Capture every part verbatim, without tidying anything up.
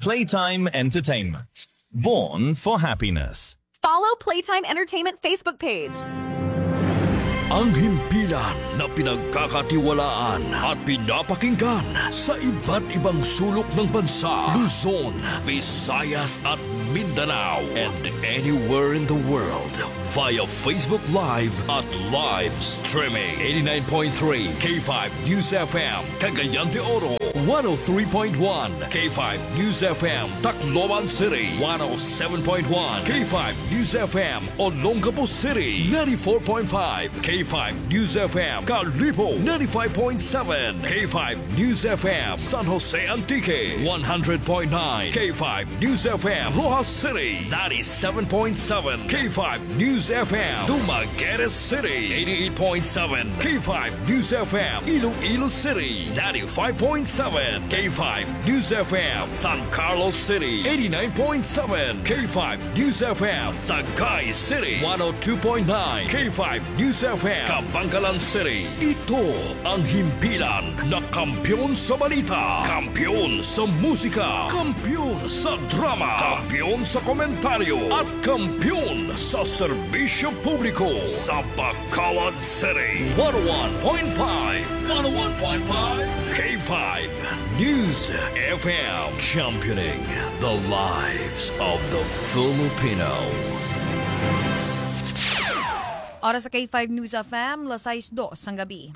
Playtime Entertainment. Born for happiness. Follow Playtime Entertainment Facebook page. Ang himpilan na pinagkakatiwalaan at pinapakinggan sa iba't ibang sulok ng bansa, Luzon, Visayas at Mindanao, and anywhere in the world via Facebook Live at live streaming. Eighty-nine point three K five News F M, Cagayan de Oro, one oh three point one K five News F M, Tacloban City, one oh seven point one K five News F M, Olongapo City, ninety-four point five K five News F M, Kalibo, ninety-five point seven K five News F M, San Jose Antique, one hundred point nine K five News F M, Roxas City, ninety-seven point seven K five News F M, Dumaguete City, eighty-eight point seven K five News F M, Iloilo City, ninety-five point seven K five News F M, San Carlos City, eighty-nine point seven K five News F M, Sagay City, one oh two point nine K five News F M, Kabankalan City. Ito ang himpilan na kampiyon sa balita, kampiyon sa musika, kampiyon sa drama, kampiyon sa komentaryo, at kampiyon sa serbisyo publiko sa Bacolod City. One oh one point five, one oh one point five K five News F M, championing the lives of the Filipino. Oras sa K five News F M, las sais dos sang gabi.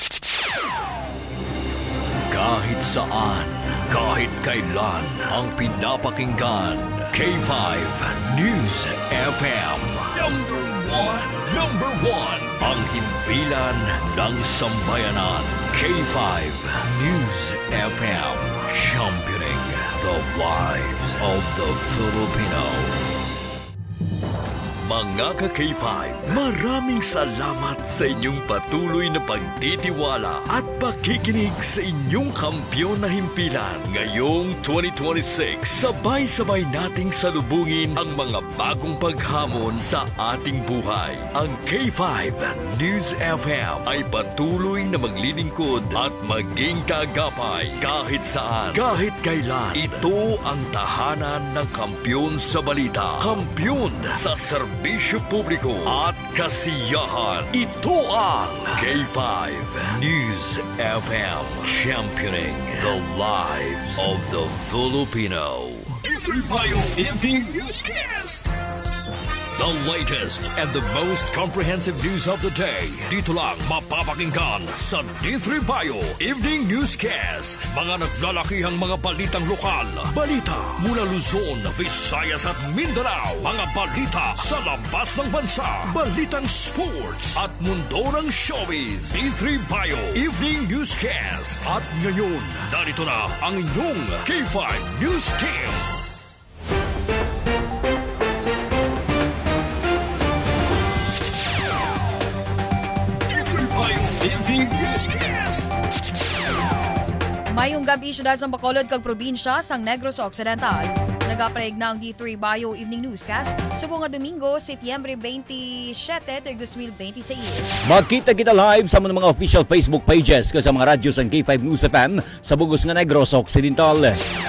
Kahit saan, kahit kailan, ang pinapakinggan, K five News F M. Number one, number one, ang himpilan ng sambayanan, K five News F M, championing the lives of the Filipino. Mga ka-K five, maraming salamat sa inyong patuloy na pagtitiwala at pakikinig sa inyong kampiyon na himpilan. Ngayong twenty twenty-six, sabay-sabay nating salubungin ang mga bagong paghamon sa ating buhay. Ang K five News F M ay patuloy na maglilingkod at maging kaagapay kahit saan, kahit kailan. Ito ang tahanan ng kampiyon sa balita, kampiyon sa serbisyo publiko at kasiyahan. Ito ang K five News F M, championing the lives of the Filipino. D three Bio Evening Newscast. The latest and the most comprehensive news of the day. Dito lang mapapakinggan sa D three Bio Evening Newscast. Mga naglalakihang mga balitang lokal. Balita mula Luzon, Visayas at Mindanao. Mga balita sa labas ng bansa. Balitang sports at mundo ng showbiz. D three Bio Evening Newscast. At ngayon, narito na ang inyong K five News Team. K five Bio Evening Newscast. Mayong gab-i, syudad sang Bacolod kag probinsya sang Negros Occidental. Nagapalig na ang D three Bio Evening Newscast subong nga Domingo, Setyembre twenty-seven, tuig dos mil bente seis. Magkita kita live sa among mga official Facebook pages kag sa mga radyo sang K five News F M sa bug-os nga Negros Occidental.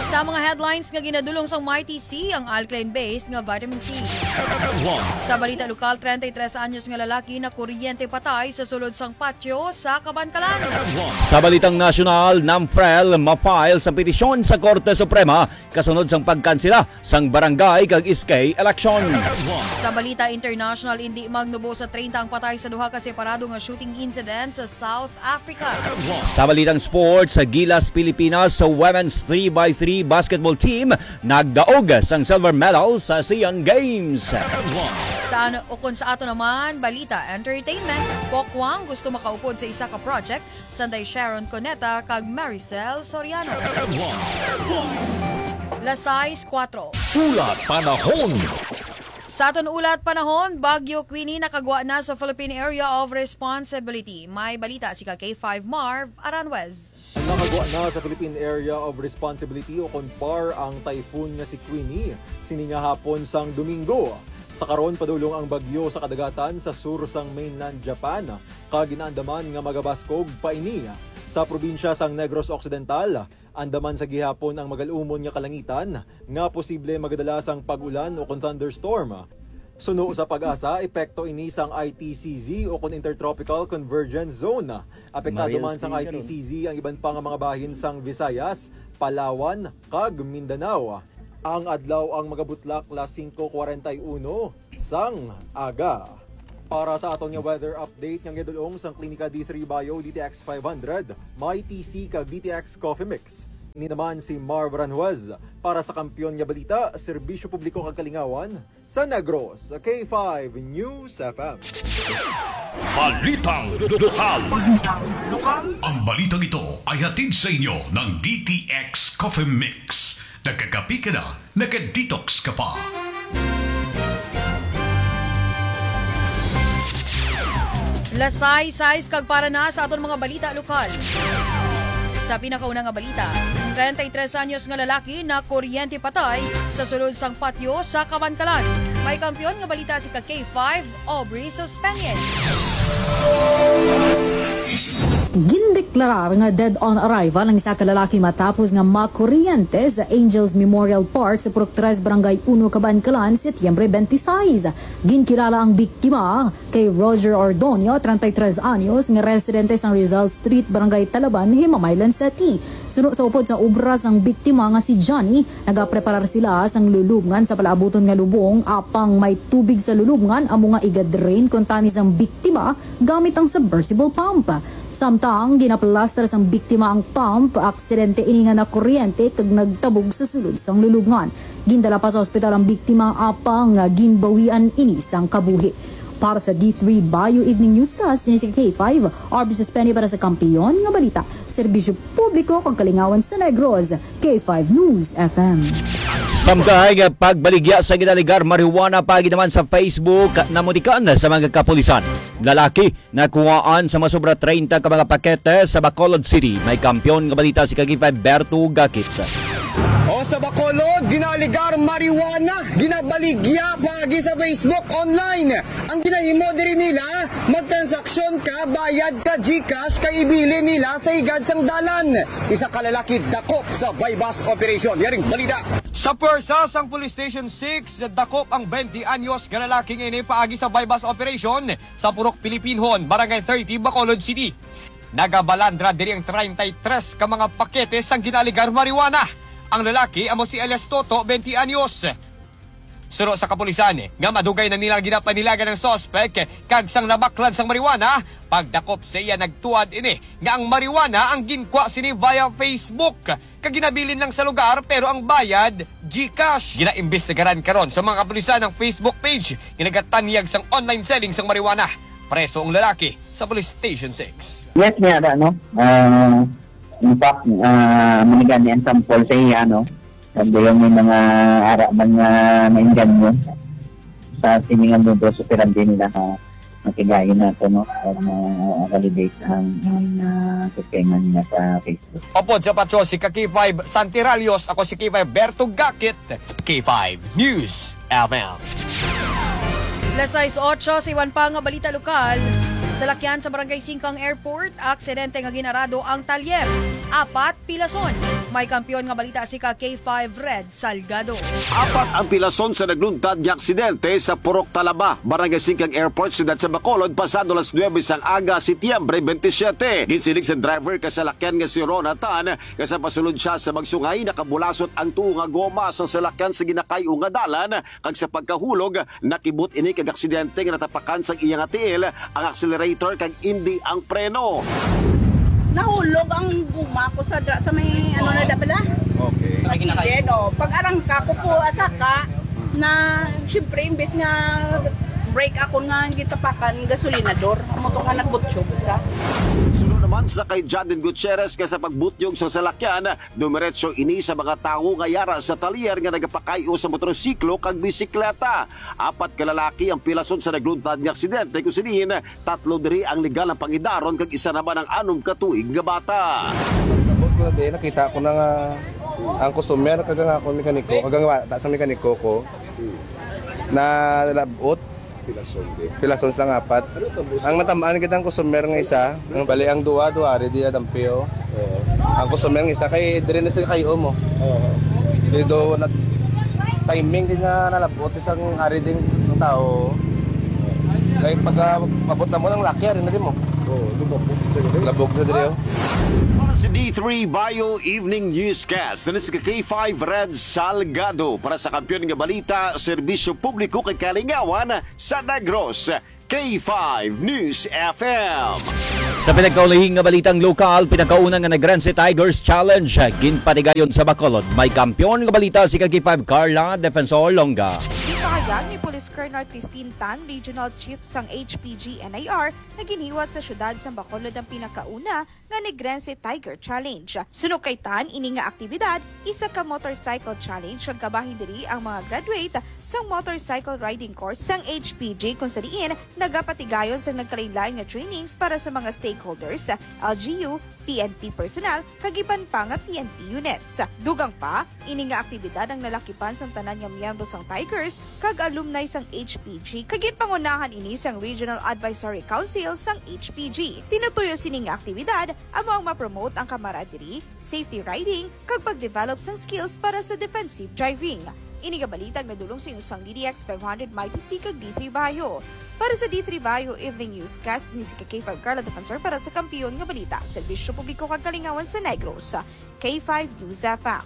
Sa mga headlines nga ginadulong sang Mighty C, ang alkaline-based nga vitamin C. Headlines. Sa balita lokal, treinta y tres anyos nga lalaki nakuryente patay sa sulod sang patio sa Kabankalan. Headlines. Sa balitang nasyonal, NAMFREL ma-file sang petisyon sa Korte Suprema kasunod sang pagkansela sang barangay kag S K election. Sa balita international, indi magnubo sa treinta ang patay sa duha ka separado nga shooting incident sa South Africa. Sa balitang sports, sa Gilas Pilipinas, sa women's three by three basketball team nagdaog sang silver medal sa Asian Games. Sa ano, ukon sa ato naman, balita entertainment, Pokwang gusto makaupod sa isa ka project Sanday Sharon Cuneta kag Maricel Soriano. Las sais kuwatro. Ulat panahon. Sa aton ulat panahon, Bagyo Queenie nakagwa na sa Philippine Area of Responsibility. May balita si ka K five Marv Aranjuez. Nakagwa na sa Philippine Area of Responsibility o kon PAR ang typhoon nga si Queenie sini nga hapon sang Domingo. Sa karon, padulong ang bagyo sa kadagatan sa sur sang mainland Japan, kag ginaandaman nga magabaskog pa ini sa probinsya sang Negros Occidental, Andaman sa gihapon ang magalumon nga kalangitan nga posible magadala sang pag-ulan o kon thunderstorm. Suno sa PAGASA, epekto ini sang I T C Z o kon Intertropical Convergence Zone. Apektado Mariel man sang Stinggaron. I T C Z ang iban pa nga mga bahin sang Visayas, Palawan, kag Mindanao. Ang adlaw ang magabutlak las singko kwarenta y uno sang aga. Para sa aton nga weather update nga gidulong sang Klinika D three Bio D T X five hundred, may T C kag D T X Coffee Mix. Ini naman si Marv Aranjuez para sa Kampiyon nga Balita, Serbisyo Publiko kag Kalingawan sa Negros, K five News F M. Balitang lokal. Balitang lokal. Ang balitang ito ay hatid sa inyo ng D T X Coffee Mix. Nagkakapi ka na, naka-detox ka pa. Las sais sais kag para na sa aton mga balita lokal. Sa pinakauna nga balita, treinta y tres anyos nga lalaki na kuryente patay sa sulod sang patio sa Kabankalan. May kampiyon nga balita si ka K five, Aubrey Suspenien. Gindeklarar nga dead on arrival ang isa ka lalaki matapos nga makuryente sa Angels Memorial Park sa Purok Tres, Barangay Uno, Kabankalan, Setyembre twenty-six. Ginkilala ang biktima kay Roger Ordonio, treinta y tres anyos, nga residente sang Rizal Street, Barangay Talaban, Himamaylan City. Suno sa upod sa obra sang biktima nga si Johnny, nagapreparar sila sang lulubngan sa palaabuton nga lubong, apang may tubig sa lulubngan, amo nga iga-drain kuntani sang biktima gamit ang submersible pump. Samtang ginaplaster sang biktima ang pump, aksidente ini nga nakuryente kag nagtabog sa sulod sang lulubngan. Gindala pa sa ospital ang biktima, apang ginbawian ini sang kabuhi. Para sa D three Bio Evening Newscast, ini si K five, Arby Suspeni para sa Kampiyon nga Balita, Serbisyo Publiko kag Kalingawan sa Negros, K five News F M. Samtang nga pagbaligya sa ginaligar marijuana paagi naman sa Facebook, namutikan sa mga kapulisan. Lalaki nakuhaan sa masobra treinta ka mga pakete sa Bacolod City. May kampiyon nga balita si ka K five Berto Gakit. O sa Bacolod, ginaaligar marijuana, ginabaligya paagi sa Facebook online. Ang ginahimo diri nila, magtransaksyon ka, bayad ka GCash, kay ibilin nila sa higad sang dalan. Isa ka lalaki dakop sa buy-bust operation. Yaring balita. Sa pwersa sang Police Station six, dakop ang twenty anyos nga lalaki nga ini paagi sa buy-bust operation sa Purok Pilipinhon, Barangay thirty, Bacolod City. Nagabalandra diri ang treinta y tres ka mga pakete sang ginaaligar marijuana. Ang lalaki amo si alias Toto, twenty anyos. Suno sa kapulisan nga madugay na nila ginapanilagan ang suspek, kag sang nabaklan sang marijuana, pagdakop sa iya nagtuad ini nga ang marijuana ang ginkwa sini via Facebook, kag ginabilin lang sa lugar, pero ang bayad, GCash. Ginaimbestigaran karon sa mga kapulisan ang Facebook page nga nagatanyag sang online selling sang marijuana. Preso ang lalaki sa Police Station six. Yes, niya, ano? Ah, in fact, ah, manigani ang sample sa iya, no? Kag dayon may mga ara man nga nainganyo sa sini nga modus operandi nila, ah, matigayon nato, no? Para ma-validate ang, ang, ah, sistema nila sa Facebook. Upod sa patyo si ka K five Santiralios, ako si K five Berto Gakit, K five News F M. Las sais otso sa iban pa nga balita lokal. Salakyan sa Barangay Singkang Airport, aksidente nga ginarado ang talyer. Apat pilason. May kampiyon nga balita si ka K five Red Salgado. Apat ang pilason sa nagluntad nga aksidente sa Purok Talaba, Barangay Singkang Airport, siyudad sa Bacolod, pasado las nuebe sang aga, Setyembre twenty-seven. Ginsiling sa driver ka salakyan nga si Ronatan nga sa pasulod siya sa Magsungay, nakabulasot ang tuo nga goma sang salakyan sa ginakay-o nga dalan, kag sa pagkahulog, nakibot ini kag aksidente nga natapakan sang iya nga tiil ang accelerator kag indi ang preno. Nahulog ang guma ko sa dra-, sa may ano na dabala. Okay. Sa kilid, oh. Pag-arangka ko po, asaka, na, siyempre, imbes nga brake ako nga gitapakan, gasolinador. Amo to nga nagbutyog sa. Suno naman sa kay Jadin Gutierrez nga sa pagbutyog sa salakyan, dumiretso ini sa mga tawo nga yara sa talyer nga nagapakay-o sa motorsiklo kag bisikleta. Apat ka lalaki ang pilason sa nagluntad nga aksidente, kung sinin tatlo diri ang legal ang pangidaron kag isa naman ang anom ka tuig nga bata. Pagkabot ko na din, nakita ko na nga ang customer kag ang akong mekaniko, kag ang bata sa mekaniko ko, nalabot. Pilason lang apat. Ang natamaan kita ang customer nga isa, ang bali ang duwa, duwa, ari diya dampi, oh. Oo. Ang customer nga isa, kay dire na sila kayo mo. Oo. Di do na timing din nga nalabot isang ari din ng tao. Kay pag ah, abot na mo ng laki, ari na din mo. Oo, lumabot sa gabi. Labog sa dire, oh. Para sa D three Bio Evening Newscast, na si K five Red Salgado para sa Kampiyon nga Balita, Serbisyo Publiko kay Kalingawan sa Negros, K five News F M. Sa pinagkaulihing nga balitang lokal, pinakauna nga Negrense Tigers Challenge, ginpatigayon sa Bacolod. May kampiyon nga balita si K five Carla Defensor Longa. Ginpahayag ni Police Colonel Christine Tan, Regional Chief sang H P G N I R, nga ginhiwat sa siyudad sang Bacolod ang pinakauna nga Negrense Tiger Challenge. Suno kay Tan, ini nga aktibidad, isa ka motorcycle challenge, kag kabahin diri ang mga graduate sang motorcycle riding course sang H P G, kung sa diin nagapatigayon sang nagkalain-lain nga trainings para sa mga stakeholders, L G U, P N P personnel, kag iban pa nga P N P units. Dugang pa, ini nga aktibidad ang nalakipan sang tanan nga miyembro sang Tigers kag alumni sang H P G, kag ginpangunahan ini sang Regional Advisory Council sang H P G. Tinutuyo sini nga aktibidad amo ang ma-promote ang camaraderie, safety riding, kag pag-develop sang skills para sa defensive driving. Ini nga balita ang nadulong sa inyo sang D T X five hundred, Mighty C, kag D three Bayo. Para sa D three Bayo Evening Newscast, ini si K five Carla Defensor para sa Kampiyon nga Balita, Serbisyo Publiko kag Kalingawan sa Negros, K five News F M.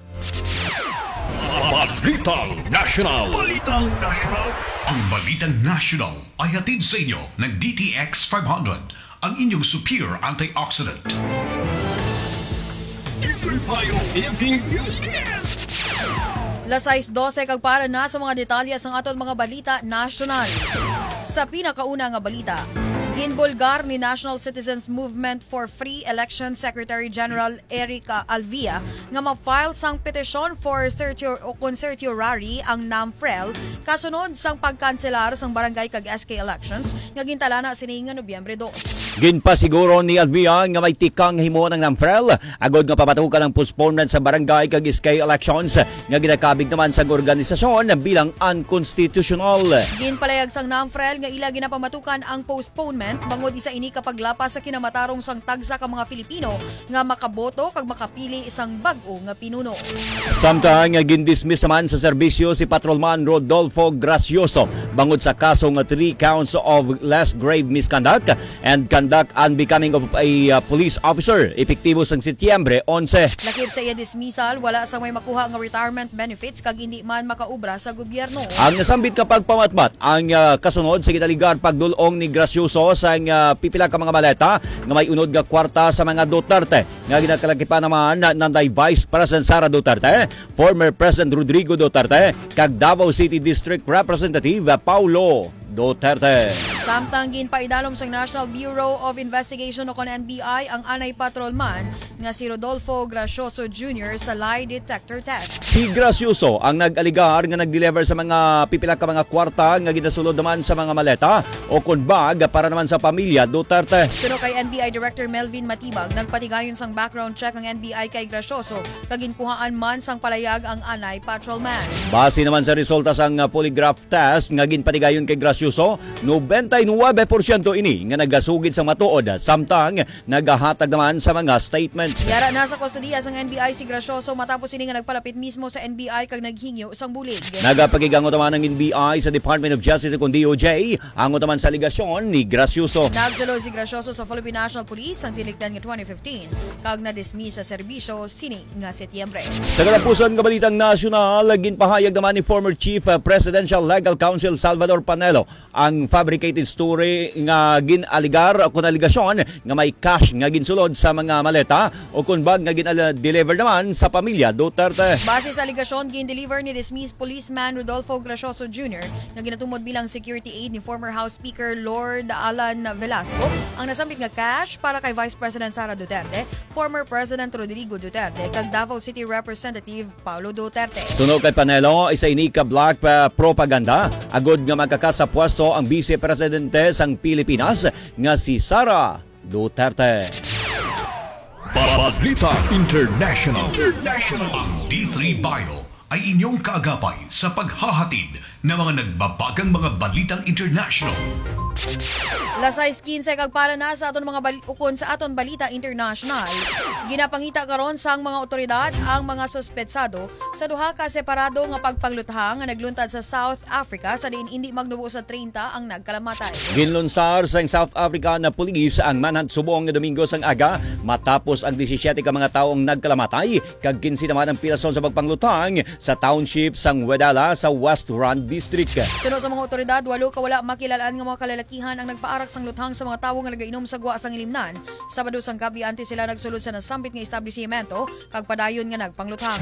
Balitang National. Balitang National. Ang Balitang National ay hatid sa inyo ng D T X five hundred, ang inyong superior antioxidant. Different Bio Evening Newscast. Las sais dose kag para na sa mga detalye sang aton mga balita nasyonal. Sa pinakauna nga balita, ginbulgar ni National Citizens Movement for Free Election Secretary General Eric, ah, Alvia nga ma-file sang petisyon for certior-, o kon certiorari ang NAMFREL kasunod sang pagkanselar sang barangay kag S K elections nga gintalana sini nga Nobyembre dos. Ginpasiguro ni Alvia nga may tikang himuon ang NAMFREL agod nga pamatukan ang postponement sa barangay kag S K elections nga ginakabig naman sang organisasyon bilang unconstitutional. Ginpalayag sang NAMFREL nga ila ginapamatukan ang postponement bangod isa ini ka paglapas sa kinamatarong sang tagsa ka mga Filipino nga makaboto kag makapili sang bag-o nga pinuno. Samtang gindismiss naman sa serbisyo si Patrolman Rodolfo Gracioso bangod sa kaso nga three counts of less grave misconduct and conduct unbecoming of a, uh, police officer, epektibo sang Setyembre onse. Lakip sa iya dismissal, wala sang may makuha nga retirement benefits kag indi man makaobra sa gobyerno. Ang nasambit nga pagpamatmat ang, ah, kasunod sa ginaligar pagdul-ong ni Gracioso sang, ah, pipila ka mga maleta nga may unod nga kwarta sa mga Duterte nga ginakalakipan naman na, nanday Vice President Sara Duterte, former President Rodrigo Duterte, kag Davao City District Representative, ah, Paulo Duterte. Samtang ginpaidalom sang National Bureau of Investigation o kon N B I ang anay patrolman nga si Rodolfo Gracioso Junior sa lie detector test. Si Gracioso ang nag-alegar nga nag-deliver sa mga pipila ka mga kwarta nga ginasulod naman sa mga maleta o kon bag para naman sa pamilya Duterte. Suno kay N B I Director Melvin Matibag, nagpatigayon sang background check ang N B I kay Gracioso kag ginkuhaan man sang palayag ang anay patrolman. Base naman sa resulta sang, ah, polygraph test nga ginpatigayon kay Gracioso, nobenta y nuebe porsyento ini nga nagasugid sang matuod, samtang nagahatag naman sa mga statements. Yara na sa kustodiya sang N B I si Gracioso matapos ini nga nagpalapit mismo sa N B I kag naghingyo sang bulig. Nagapakigangot naman ang N B I sa Department of Justice o kon D O J, angot naman sa alegasyon ni Gracioso. Nagsulod si Gracioso sa Philippine National Police sang tinikdan nga twenty fifteen kag na-dismiss sa serbisyo sini nga Setyembre. Sa katapusan nga balitang nasyonal, ginpahayag naman ni former Chief, uh, Presidential Legal Counsel Salvador Panelo ang fabricated story nga gin-alegar o kon alegasyon nga may cash nga ginsulod sa mga maleta o kon bag nga gin-deliver naman sa pamilya Duterte. Base sa alegasyon, gin-deliver ni dismissed policeman Rodolfo Gracioso Junior nga ginatumod bilang security aide ni former House Speaker Lord Alan Velasco ang nasambit nga cash para kay Vice President Sara Duterte, former President Rodrigo Duterte, kag Davao City Representative Paulo Duterte. Suno kay Panelo, isa ini ka black, ah, propaganda agud nga makakasa pwesto ang Vice Presidente sang Pilipinas nga si Sara Duterte. Balita International. International. Ang D three Bio ay inyong kaagapay sa paghahatid ng mga nagbabagang mga balitang international. Las sais quince kag para na sa aton mga bal-, ukon sa aton balita international. Ginapangita karon sang mga otoridad ang mga suspetsado sa duha ka separado nga pagpangluthang nga nagluntad sa South Africa, sa diin indi magnubo sa treinta ang nagkalamatay. Ginlunsar sang South Africa na pulis ang manhunt subong nga Domingo sang aga, matapos ang disisiete ka mga tawo ang nagkalamatay kag kinse naman ang pirason sa pagpangluthang sa township sang Wedala sa West Rand District. Suno sa mga otoridad, walo ka wala makilal-an nga mga kalalakihan ang nagpaarak sang luthang sa mga tawo nga nagainom sa gwa sang ilimnan Sabado sang gab-i, antes sila nagsulod sa nasambit nga establisimento kag padayon nga nagpangluthang.